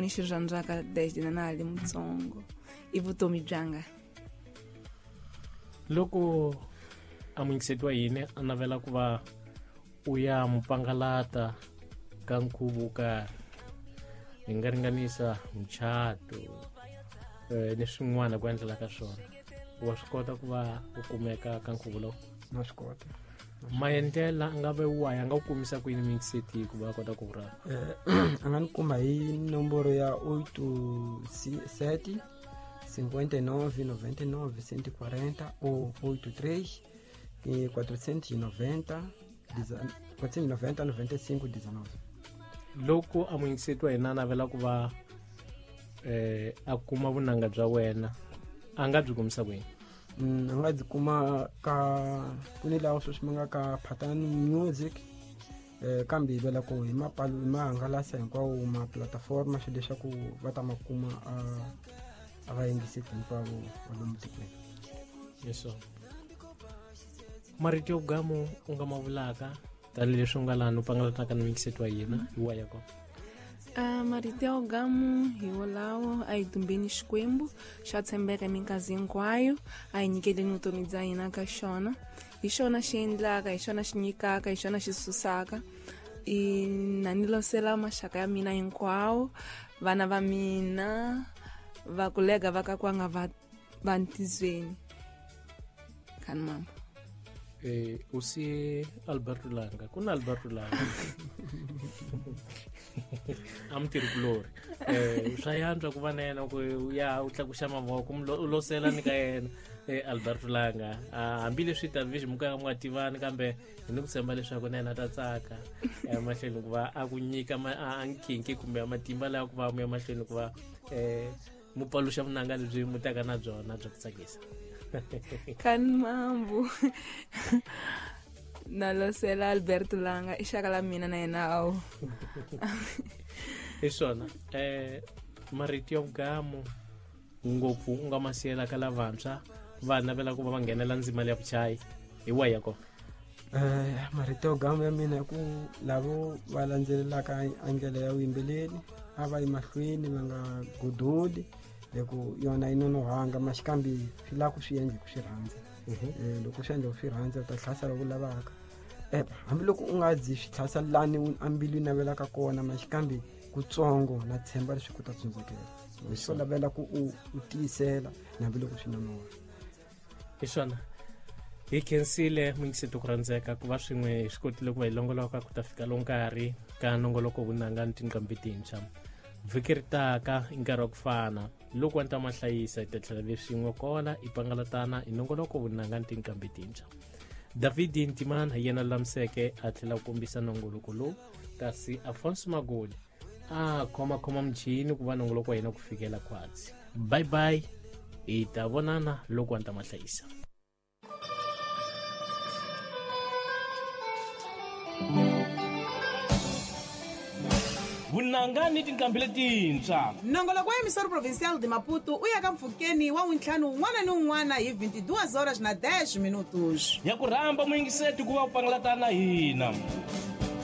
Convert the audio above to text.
Ni xi rhandzaka desde na na ha ri mutsongo i vutomi byanga. Loko a muyingiseti wa hina a navela ku va u ya mupangalata ka nkhuvo wo karhi, hi nga ringanisa muchato ni swin'wana ku endlela ka swona, wa swi kota ku va u kumeka ka nkhuvo lowu? Na swi kota. Maendlela a nga ve wahi, a nga ku kumisa ku yini muyingiseti ku va a kota ku ku rhamba? A nga ni kuma hi nomboro ya 87 59 99 140 ou 83 490 490 95 19. Loko a muyingiseti wa hina a navela ku va a kuma vunanga bya wena, a nga byi kumisa kwini? A nga byi kuma ka ku ni lawa sweswi ma nga ka Phatani Music, kambe hi vela ku hi mapalu hi mahangalasa hinkwawo ma platform swilo leswaku va ta ma kuma a va yingiseti hinkwavo va lomu tikweni. Yes sir. Marito yo gamu u nga ma vulaka tanihileswi u nga laha u pangalataka ni muyingiseti wa hina hi wa ya kona? Marito ya gamu hi wolawo: a hi dumbeni Xikwembu, xa tshembeka minkarhi hinkwayo, a hi nyikeleni vutomi bya hina ka xona. Hi xona xi endlaka, hi xona xi nyikaka, hi xona xi susaka. I na ni losela maxaka ya mina hinkwawo, vana va mina, va kulega va ka kwanga va va ntizweni khani mama. U siye Alberto Langa, ku na Alberto Langa a mutirhikulori, swa yantswa ku va na yena ku ya u tlakuxa mavoko u losela ni ka yena Alberto Langa. Hambileswi David mo ka mu nga tivani, kambe hi ni ku tshemba leswaku na yena ta tsaka emahlweni ku va a ku nyika a nkhinkhi kumbe matimba lawa ku va mu ya mahlweni ku va mu paluxa vunanga lebyi mu taka na byona bya ku tsakisa. Khani mambu, na losela Alberto Langa, i xaka la mina na yena awu. Hi swona. Marito ya vugamu ngopfu u nga ma siyela ka lavantshwa va navela ku va va nghenela ndzima leya vuchayi, hi wahi ya kona? Marito yo gamu ya mina i ku lavo va landzelelaka a ndlela ya vuyimbeleri a va yi mahlweni, va nga godoli, hi ku yona yi nonohanga maxikambi swi lava ku swi endla hi ku swi rhandza. Loko swi endla ku swi rhandza u ta hlasela ku lavaka, hambiloko u nga zi swi tlhasa lani a mbilu yi navelaka kona, maxikambi kutsongo na tshemba leswi ku ta tsundzukela swo lavela ku u tiyisela na hambiloko swi nonoha. Hi swona, hi khensile muyingiseti ku rhandzeka ku va swin'we hi swi kotile ku va hi longoloka ku ta fika lowu nkarhi ka nongoloko vunanga ni tinqambi tintshwa. Vhiki ri taka i nkarhi wa ku fana loko wa ni ta ma hlayisa, hi ta tlhela ve swin'we kola hi pangalatana hi nongoloko vunanga ni tinqambi tintshwa. David Ntimana hi yena lulamiseke a tlhela ku kombisa nongoloko lowu, kasi Afonso Magoli a khomakhoma muchini ku va nongoloko wa hina ku fikela khwatsi. Bye bye, hi ta vonana loko wa ni ta ma hlayisa. Vunanga ni tinqambi letintshwa. Nongoloko wa Emissora Provincial de Maputo u ya ka mpfhukeni wa wuntlhanu wun'wana ni wun'wana hi 22 horas na 10 minutos. Ya ku rhamba muyingiseti ku va u pangalatana na hina.